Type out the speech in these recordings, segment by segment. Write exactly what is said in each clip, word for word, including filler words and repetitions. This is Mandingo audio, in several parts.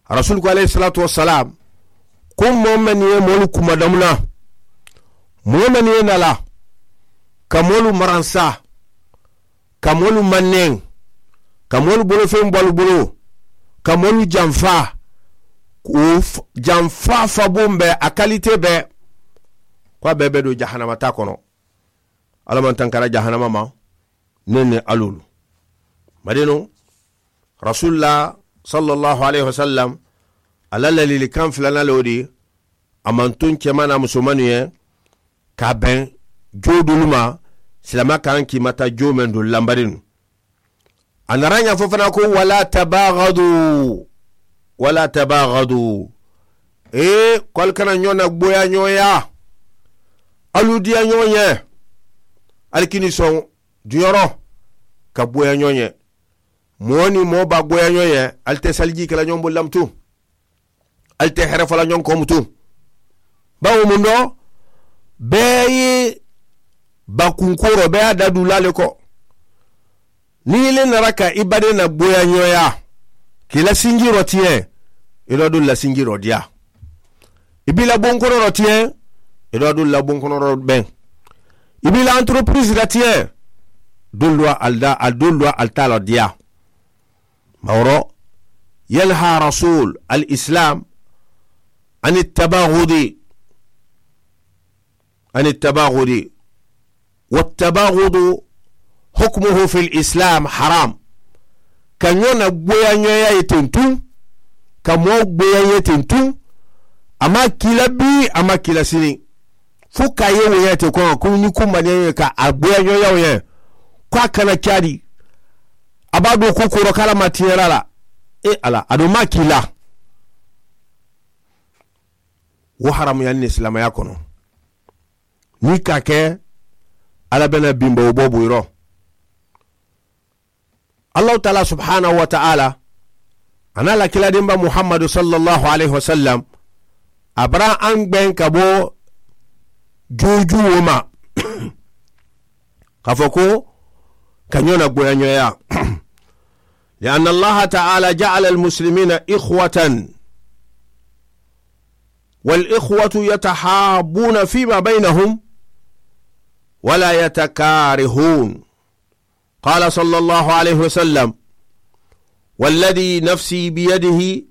Rasuulu ko alayhi salaatu wa salaam, ko moo mennu ye moolu kumadamuna, moo mennu ye na la ka moolu maransa, ka moolu manneŋ, ka moolu bolofeŋ balu bulu, ka moolu janfa, janfa fabun be a kalite be, ko a bee be do jahannama taa kono. Alla maŋ tankara jahannama ma. Neŋ ne alulu madinu, rasuulu la, salla allahu alayhi wa sallam, a la lalili kaŋ filana le wo di. A maŋ tuŋ kemana musumanu ye ka a beŋ joo dulu ma, silama kaŋ kiimata joo meŋ dulu lambarinu. A nara ñaŋ fo fana ko wala tabagadu, wala tabagadu. Ee, ko ali kana ñoo na gboya ñooya. Alu diya ñoo ñe. Ali kini soŋ duñoro ka gboya ñoo ñe. Moo ni moo ba gboya ñoo ñe. Ali te salijii kela ñoo bulu lamtu. Ali te here fola ñoŋ komutu. Bawo mundo bee ye bakunkooro bee ye a da dulaa le ko. Niŋ i le nara ka i bade na gboya ñooya, ka i la sinjiiroo tiyeŋ, i doo dulu la sinjiiroo diyaa. I be i la bonkorooroo tiyeŋ, i doo dulu la bonkorooroo beŋ. I be i la antoropiriisi la tiyeŋ, dulu doo ali daa ali dulu doo ali taa la diyaa. Maworo, yanha rasuulu al isilaam, ani tabagudi, ani tabagudi. Wa tabagudu hukumuhu fil isilaam haram. Ka ñoo na gboya ñooya ye tentu, ka moo gboya ye tentu. A ma kiila bii a ma kiila sini. Fo ka ye wo ñaa te kono ko ni kumba ñaa ye ka a gboya ñooya wo ñaa. Ko a kana caadi. A ba do ko koro kala ma tiyara la. E ala a do ma kiila. Wo haramu ya ni silamaya kono. Ni ka ke ala bena bimba wo bobu iro. Allahu taala subhanahu wa taala, ana la kila dimba muhammadu sallallahu alayhi wa sallam. A bara an gben ka bo juju wo ma. Ka fo ko ka ñoo na gboya ñooya. Li anna allaha taala jaala almuslimina ikhwatan. Wal ikhwatu yatahabuna fima baynahum wala yatakarihun. Qala sallallahu alayhi wa sallam, walladhi nafsi biyadihi,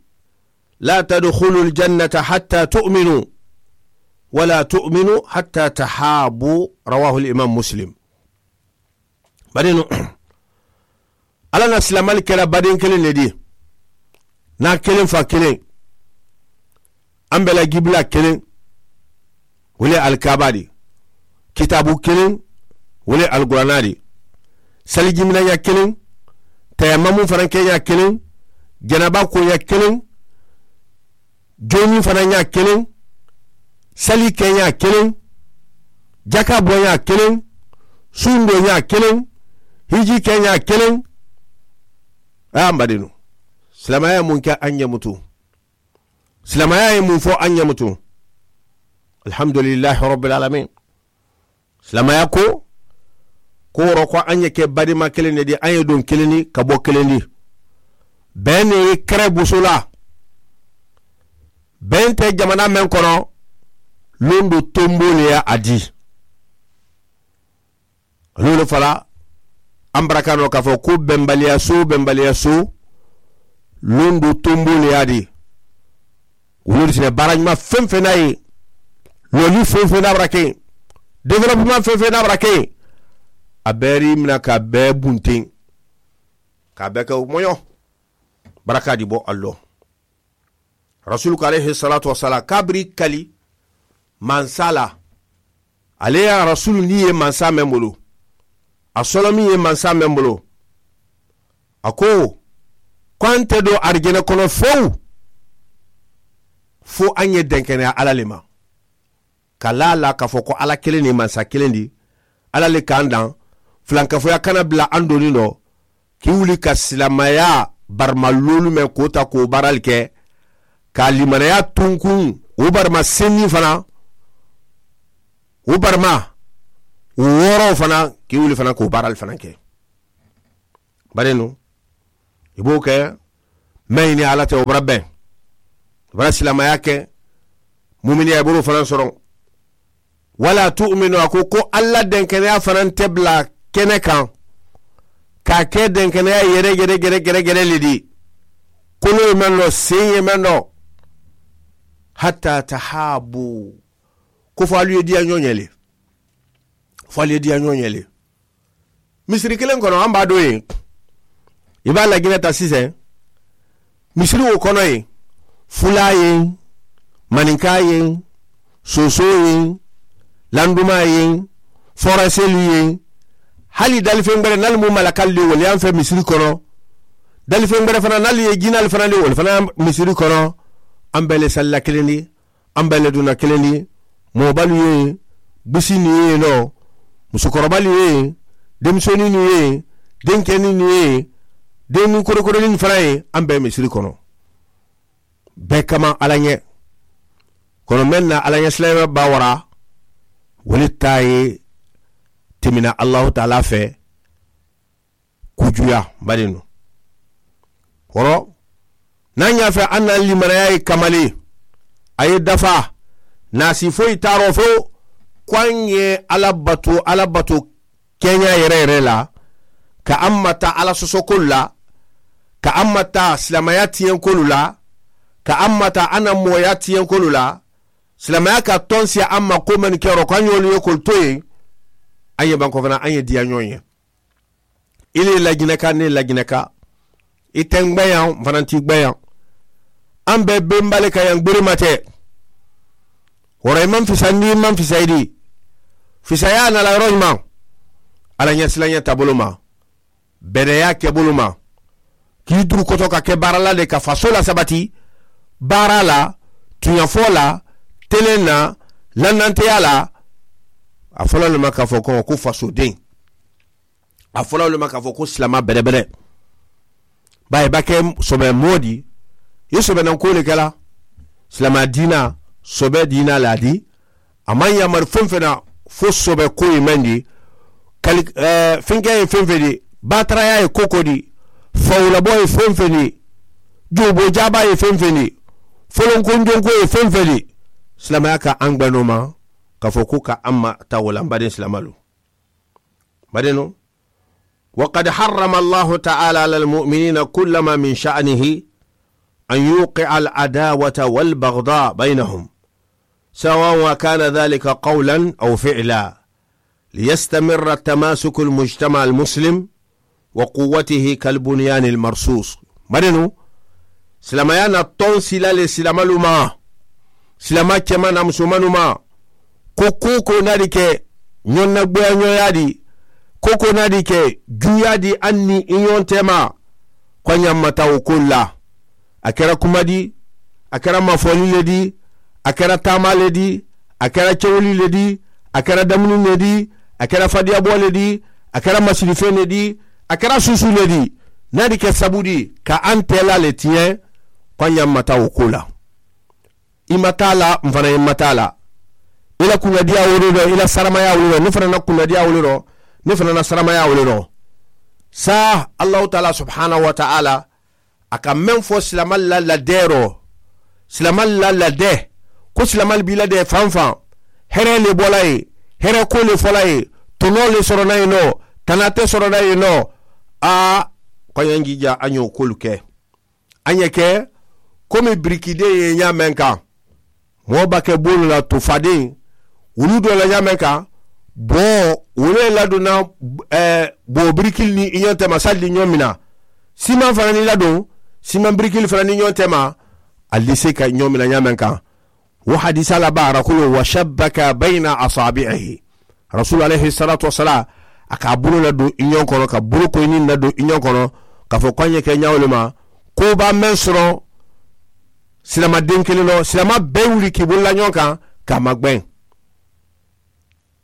la tadkhulu aljannata hatta tu'minu, wala tu'minu hatta tahabu. Rawahu alimam muslim. Bari nu ala na silamali kela baden kelen ne di. Na kelen fa kelen. An bela gibila kelen. Wole alkaba di. Kitabu kelen. Wole alkurana di. Sali jimina ña kelen. Tayamamu fana ke ña kelen. Janaba ko ña kelen. Joni fana ña kelen. Sali ke ña kelen. Jaka bo ña kelen. Sundo ña kelen. Hiji ke ña kelen. A mbadinu. Silamaya mun ke an ñamutu. Silamaya ye mun fo an ñamutu. Alhamdulillahi rabbil alamin. Silamaya ko ko woro ko an ye ke badima kelen ne di an ye don kelen di ka bo kelen di. Ben ne ye kere busu la. Ben te jamana men kono. Lundu tombo le ya a di. Loolu fala an baraka no ka fo ko benbaliya so benbaliya so. Lundu tombo le ya di. Wuluri sine baara ñuma feŋ feŋ na ye. Loli feŋ feŋ na bara ke. Development feŋ feŋ na bara ke. A beri mina ka be bunten. Ka be ke moyo. Baraka di bo allo. Rasulu ko alayhi salatu wasalam kabiri kali. Mansala. Ale ya rasulu ni ye mansa men bulu. A solo min ye mansa men bulu. A ko ko an te do arijana kono fewu. Fo an ye denkeneya ala le ma. Ka laa la ka fo ko ala kelen ni mansa kelen di. Ala le kan dan. Filankafoya kana bila an doni do. Ki wuli ka silamaya barima lolu men ko ta ko barali ke. Ka limanaya tunkun o barima senni fana. O barima o woro fana. Ki wuli fana ko barali fana ke. Bari nu i b'o kɛ. Mɛ ɲini ala tɛ o bara bɛn. Bara silamaya ke muminiya i boro fanaŋ soroŋ. Wala tu'minu a ko ko alla denkeneya fanaŋ te bula kene kaŋ ka ke denkeneya yere yere yere yere yere le di. Kolo ye meŋ no seŋ ye meŋ no. Hatta tahabu ko fo alu ye diya ñoñe le. Fo alu ye diya ñoñe le. Misiri kiliŋ kono an baa doo ye i baa lajinata siseŋ. Misiri wo kono ye fulaa ye maninkaa ye soosoo ye landumaa ye foraselu ye. Hali dalifeŋ bere nali mu malakali le wolu ye an fe misiri kono. Dalifeŋ bere fana nali ye jinali fana le wolu fana ye misiri kono. An bee le salla kiliŋ di an bee le duna kiliŋ di. Moobalu ye busininu ye noo musukorobalu ye denmusoninnu ye denkeninu ye dennin korokoroninu fanaŋ ye. An bee misiri kono bee kamaŋ alla ñe. Kono meŋ na alla ñe silaame baa wara wo le taa ye timina allahu taala fee. Kujuya mba de nu woro. Niŋ a ñaa fe a na limanaya ye kamali a ye dafa. Naasi fo i taaroo fo ko a ñe alla batu alla batu keñaa yere yere la ka a mata alla sosokolu la ka a mata silamaya tiyenkolu la ka a mata a na mooya tiyenkolu la. Silamaya ka tonsi a ma ko mennu ke ro ko a ñolu ye kolu to ye. A ñe banko fana a ñe diya ñoo ye. I le lajinaka ne lajinaka i te n gbeyaŋ n fana ti gbeyaŋ. An be bembale ka yaŋ gbirima te. Woro i maŋ fisandi i maŋ fisayidi. Fisaya na la yoro ñumaŋ. Alla ñasilaña tabulu ma bereya kebulu ma. Kii duru koto ka ke baara la de ka faso la sabati baara la tuñafoo la telen na lannanteya la. A fo la le ma ka fo ko ko fasodeŋ. A fo la le ma ka fo ko silama berebere. Baa i ba ke sobe moo di i sobe naŋ ko le ke la. Silama diina sobe diina la di. A maŋ yamari feŋ feŋ na fo sobe ko ye meŋ di kali fenkeya ye feŋ feŋ di baataraya ye koko di fawulabo ye feŋ feŋ di. Jooboo jaabaa ye feŋ feŋ di folonkonjonko ye feŋ feŋ di. Silamaya ka aŋ gbenoo ma ka fo ko ka aŋ ma tawo la mbadeŋ silamalu. Mbadeŋ no. Wa qad harrama allahu taala ala almuminina kullama min sha'nihi an yuqi'a al adawata wal baghda baynahum, sawa wa kana dhalika qawlan aw fi'la, liyastamirra tamasuku almujtama almuslim wa quwwatihi kalbunyani almarsus. Mbadeŋ no. Silamaya na toŋ sila le silamalu ma. Silama kema na musomanu ma. Ko kuko na di ke ñoŋ na gbeya ñoŋ ya di. Kuko na di ke juya di aŋ ni i ñoŋ tema. Ko a ñaŋ mata wo kolu la. A kera kuma di. A kera mafoli le di. A kera taama le di. A kera kewuli le di. A kera damuni le di. A kera fadiyabo le di. A kera masilifeŋ le di. A kera susu le di. Na di ke sabu di ka aŋ tela le tiyeŋ. Ko a ñaŋ mata wo ko la. I ma taa la n fana ye n ma taa la. I la kunnadiya wolu do i la saramaya wolu do ne fana na kunnadiya wolu do ne fana na saramaya wolu do. Saa allahu taala subhanahu wa taala a ka meŋ fo silamal la ladeeroo silamal la ladee ko silamal be i ladee fanfaŋ. Here le bola ye here ko le fola ye tonoo le sorona ye noo tanaate sorona ye noo. A ko a ñaŋ jiija a ñoo kolu ke. A ñe ke komi birikideŋ ye ñaameŋ kaŋ moo ba ke boolu la tufadeŋ wulu doo la ñaameŋ kaŋ. Boo wulu ye laduna boo birikili niŋ i ñoŋ tema salli ñoŋ mina. Simaŋ fanaŋ niŋ i laduŋ simaŋ birikili fanaŋ niŋ ñoŋ tema. Ali se ka ñoŋ mina ñaameŋ kaŋ. Wo hadisa la baara kulu wa shabbaka bayna asaabi'ihi. Rasulu alayhi salatu wasalam a ka a bulu la duŋ i ñoŋ kono ka bulu koyiniŋ la duŋ i ñoŋ kono ka fo ko a ñe ke ñawo le ma. Ko baa meŋ soroŋ silama deŋ kiliŋ loŋ silama bee wuli ka i bulu la ñoŋ kaŋ ka a magbeŋ.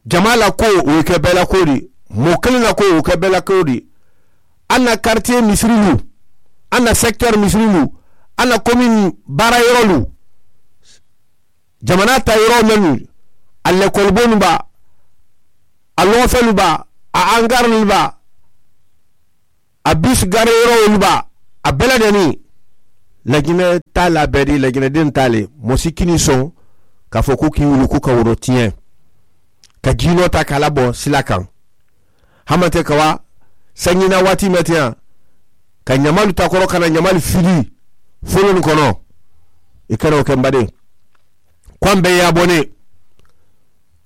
Jamaa la ko wo ye ke bee la ko di. Moo kiliŋ la ko wo ye ke bee la ko di. A na karitiye misirilu a na sekiteri misirilu a na komini baara yorolu. Jamanaa taa yoroo mennu a lekolibonu baa, a loofelu baa, a angarolu baa, a biisi gari yoroolu baa, a bee la deni. Lajinɛ taa la bɛɛ di lajinɛ den taa le. Mɔsi kini sɔn k'a fɔ ko k'i wuluku ka woro tiɲɛ, ka jiinɔ ta k'a labɔ sila kan. Hamante ka wa sanjina waati mɛn tiɲɛ, ka ɲamalu takɔrɔ ka na ɲamalu fili folon kɔnɔ. I kana o kɛ n baden. Ko an bɛɛ y'a bɔ ne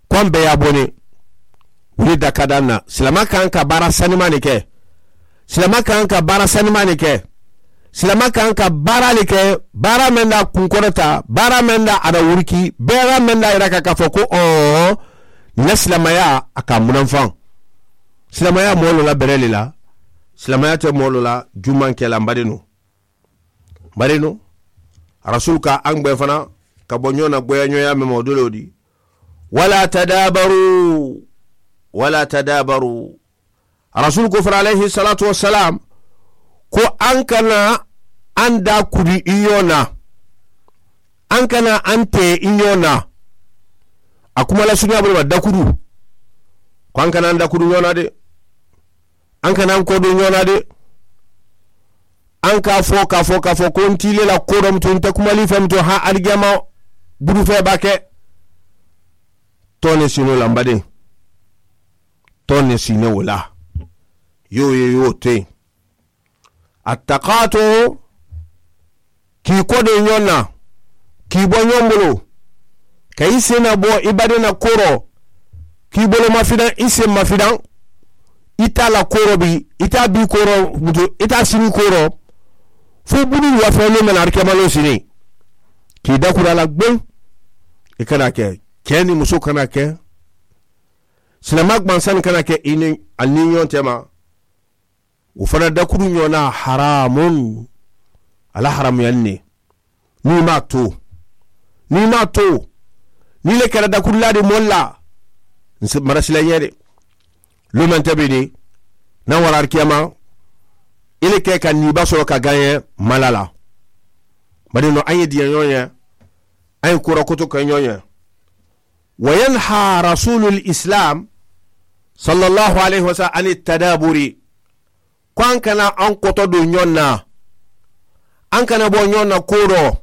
ko an bɛɛ y'a bɔ ne. Wuli da ka di an na. Silamɛ ka kan ka baara sanima de kɛ. Silamɛ ka kan ka baara sanima de kɛ. Silamɛ ka kan ka baara de kɛ, baara min da kunkɔrɔta, baara min da a da wuriki, baara min da yira ka, k'a fɔ ko ɔɔ, ne silamɛya a ka munafan. Silamɛya mɔɔ lɔ la bɛrɛ le la. Silamɛya tɛ mɔɔ lɔ la jumankɛla, n baden. Bari no, Rasul ka an gbɛ fana ka bɔ ɲɔgɔn na, gbɛya ɲɔgɔnya mɛn mɔdolo di. Wala tadabaru, wala tadabaru. Rasul ko fana, alayhi salatu wasalam, ko an kana an da kudi i ɲɔgɔn na, an kana an tɛ i ɲɔgɔn na. A kuma la sunya bolo ma dakuru, ko an kana an dakuru ɲɔgɔn na de. An kana an kɔdon ɲɔgɔn na de. An k'a fɔ, k'a fɔ, k'a fɔ ko n t'i le la ko dɔ, mutu n tɛ kumali fɛ, mutu han alijama burufɛ b'a kɛ. Tɔn ne sin'o la, n baden. Tɔn ne sin'o la. Y'o ye, y'o to yen. A takato, k'i kɔdon ɲɔgɔn na, k'i bɔ ɲɔgɔn bolo, ka i sen na bɔ i baden na korɔ, k'i bolo mafidan, i sen mafidan, i t'a la korɔ bi, i t'a bi korɔ, i t'a sini korɔ, fo bulu wafɛ n'o mɛna arikɛmalo sini, k'i dakura la gbeŋ. I kana kɛ, cɛ ni muso kana kɛ, silamɛ gbansan kana kɛ i ni a ni ɲɔgɔn cɛ ma. O fana dakuru ɲɔgɔnna haramun, ala haramuyanni ne. N'i m'a to, n'i m'a to, n'i le kɛra dakurula de mɔli la, n se marasila ɲɛ de. Lomɛn tɛ bɛ de, n'a wara kiyama, i le kɛ ka niba sɔrɔ ka gaɲɛ mala la. Bari nɔ, an ye diɲɛ ɲɔgɔn ye, an ye kura koto kɛ ɲɔgɔn ye. Wa yanha rasulul islam, sallallahu alayhi wa sallam, ani tadaburi, ko an kana an kɔtɔ don ɲɔgɔn na, an kana bɔ ɲɔgɔn na ko rɔ,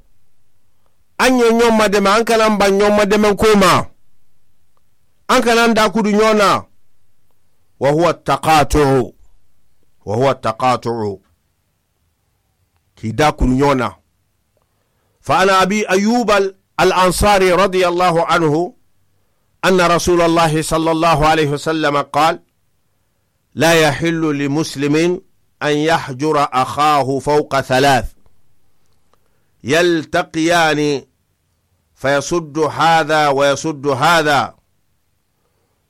an ye ɲɔgɔn ma dɛmɛ, an kana ban ɲɔgɔn ma dɛmɛ ko ma, an kana an dakudu ɲɔgɔn na. Wa huwa taqatu'u, wa huwa taqatu'u. K'i da kuru ɲɔgɔn na. Fa ana abi ayub al ansari radiyallahu anhu, anna rasulallahi sallallahu alayhi wa sallam qal, la yahillu li muslimin an yahjura akhahu fawqa thalath, yaltaqiyani fayasuddu hadha wa yasuddu hadha,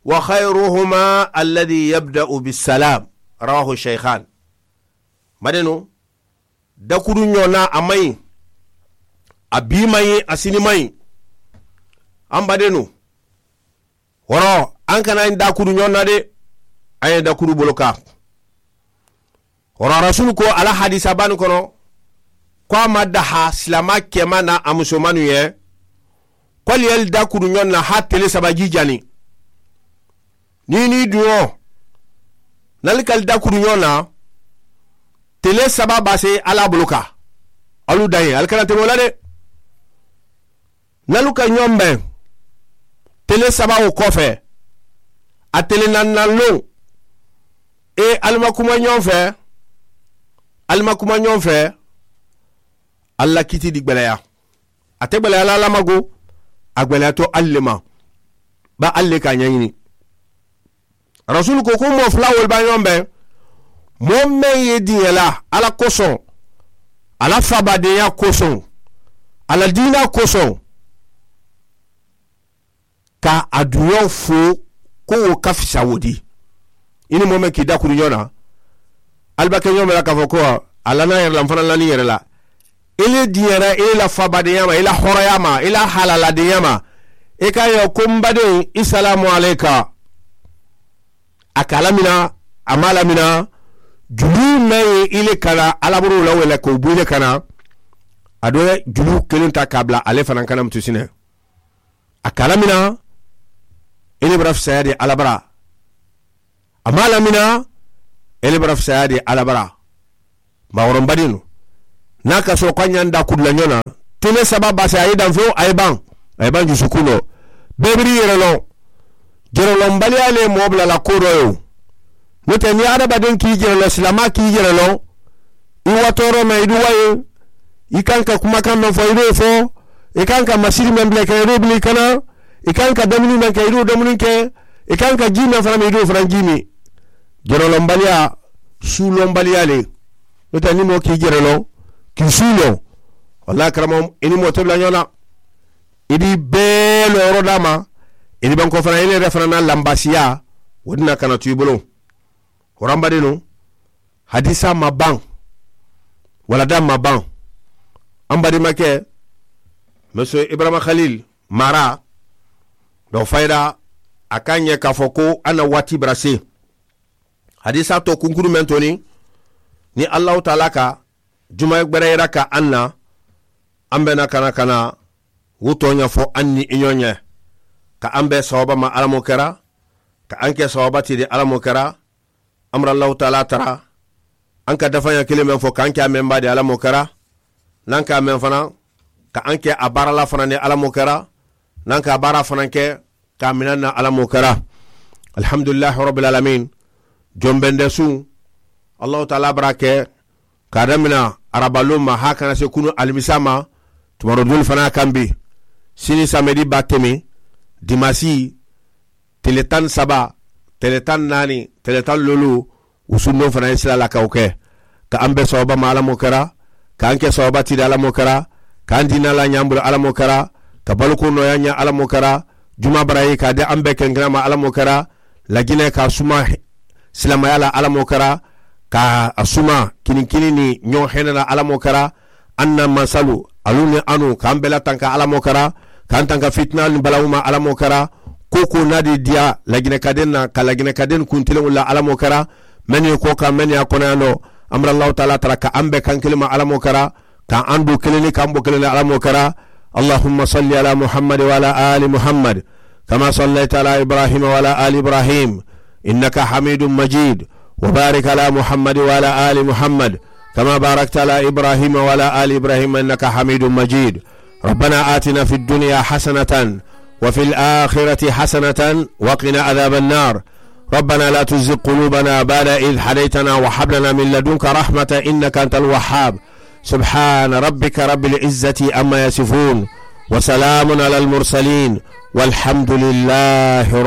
wa khayruhuma alladhi yabda'u bisalam. Rawahu shaykhan. Madenu, dakuru ɲɔgɔnna, a man ɲi. A bi man ɲi, a sini man ɲi. An badenu, wɔrɔ, an kana dakuru ɲɔgɔnna de. An ye dakuru bolo kan. Wɔrɔ, rasulu ko ala hadisa bani kɔnɔ, ko a ma daha silama kɛma na a musomanu ye, ko ali yali dakuru ɲɔgɔn na ha tele saba ji jani. Ni ni duɲɔ, nali kali dakuru ɲɔgɔn na, tele saba base ala bolo ka. Alu da ye, ali kana tɛmɛ o la de. Nalu ka ɲɔgɔn bɛn tele saba o kɔfɛ, a tele naaninan lon, e, ali ma kuma ɲɔgɔn fɛ, ali ma kuma ɲɔgɔn fɛ, ali la kiti di gbɛlɛya. A tɛ gbɛlɛya la, alamago, a gbɛlɛyatɔ ali le ma. Ba ali le k'a ɲɛɲini. Rasulu ko, ko mɔɔ fula wolu b'a ɲɔgɔn bɛn, mɔɔ meŋ ye diɲɛ la ala kosɔn, a la fabadenya kosɔn, a la diina kosɔn, ka a duɲɔ fo, ko wo ka fisa wo di. I ni mɔɔ meŋ k'i dakuru ɲɔgɔn na, ali b'a kɛ ɲɔgɔn bɛɛ la k'a fɔ ko a lana yɛrɛ la, n fana lani yɛrɛ la. I le diɲɛra i la fabadenya ma, i la hɔrɔnya ma, i la halaladenya ma, i k'a ye ko n baden, i salamu aleka. A ka lamina, a ma lamina. Juru mɛn ye i le kana alaburu la wele k'o bɔ i le kana, a dɔ ye juru kelen ta k'a bila ale fana kana mutusinɛ. A ka lamina, i le bara fisaya de alabara. A ma lamina, i le bara fisaya de alabara. Maakɔrɔbadenu, niŋ a ka soro ko a ñanta a kutu la ñoo na, tene saba baasi a ye danfeŋo a ye baŋ. A ye baŋ jusukundo. Bee biri yere loŋ. Jeroloŋ baliyaa le moo bula la koo doo ye wo. Noo te niŋ hadamadeŋ ka i jere loŋ silaamaa ka i jere loŋ, i wa tooroo meŋ i duwa ye. I kaŋ ka kumakaŋ meŋ fo i duwo fo. I kaŋ ka masiri meŋ bula i kana i duwo bula i kana. I kaŋ ka domuni meŋ ke i duwo domuni ke. I kaŋ ka jii meŋ fanaŋ meŋ i duwo fanaŋ jii mi. Jeroloŋ baliyaa suuloŋ baliyaa le. Noo te niŋ moo ka i jere loŋ ka i suuloŋ, wallaahi karamo i niŋ moo te bula ñoo na. I be i bee looroo daama. I niŋ bankoo fanaa i niŋ i yere fanaa na lambaasiyaa. Wo dina kana tu i bulu. Horamba de nuŋ. Hadiisaa ma baŋ. Walla daŋ ma baŋ. An badimakee, monsieur ibrahima halil mara. Doo fayida a ka a ñe ka a fo ko a na waati bara se. Hadiisaa to kunkuru meŋ to niŋ niŋ allahu taala ka juma gbere yira ka aŋ na. Aŋ be na kana kana wutoo ña fo aŋ niŋ i ñoo ñe. Ka aŋ be sawaba ma alla moo kera. Ka aŋ ke sawaba ti de alla moo kera. Aŋ bara allahu taala tara. Aŋ ka dafaña kiliŋ meŋ fo ka aŋ ke a meŋ ba de alla moo kera. Naŋ ka a meŋ fanaŋ ka aŋ ke a baara la fanaŋ de alla moo kera. Naŋ ka a baara fanaŋ ke ka a minaŋ na alla moo kera. Alhamdulillahi rabbil alamin. Jombende suŋ allahu taala bara ke ka a damina arabaluŋ ma haa kana se kunu alimisa ma. Tumaroo doolu fanaa kambi sini samedi baa temi dimasi tele taŋ saba tele taŋ naani tele taŋ luulu. Wusundiŋo fanaa ye sila la ka wo ke. Ka aŋ be sawaba ma alla moo kera. Ka aŋ ke sawaba ti de alla moo kera. Ka aŋ diina la ñaŋ bulu alla moo kera. Ka balukuŋ nooyaa ña alla moo kera. Jumaa bara ye ka a de aŋ be kenkenaa ma alla moo kera. Lajinee ka a suma silaamaya la alla moo kera. Ka a suma kiniŋ kiniŋ niŋ ñoo hene la alla moo kera. Aŋ na mansalu alu niŋ anu ka aŋ bela tanka alla moo kera. Ka aŋ tanka fitinaalu niŋ balawuma alla moo kera. Koo koo naadi diya lajinekadeŋ na ka lajinekadeŋ kuntiliŋolu la alla moo kera. Mennu ye koo kaŋ mennu ye a konoyandoo. Aŋ bara allahu taala tara ka aŋ be kaŋ kiliŋ ma alla moo kera. Ka aŋ duu kiliŋ niŋ ka aŋ bo kiliŋ la alla moo kera. Allahumma salli ala muhammad wa ala ali muhammad. Kama sallayta ala ibrahima wa ala ali ibrahim. Innaka hamidun majid. Wa barik ala muhammad wa ala ali muhammad. Kama barakta ala ibrahima wa ala ali ibrahima innaka hamidun majid. Rabbana atina fi dunya hasanatan wa fi alakhirati hasanatan wa qina adhaba annar. Rabbana la tuzigh qulubana ba'da idh hadaytana wa hab lana min ladunka rahmatan innaka antal wahhab. Subhana rabbika rabbil izzati amma yasifun. Wa salamun alal mursalin. Walhamdulillahi.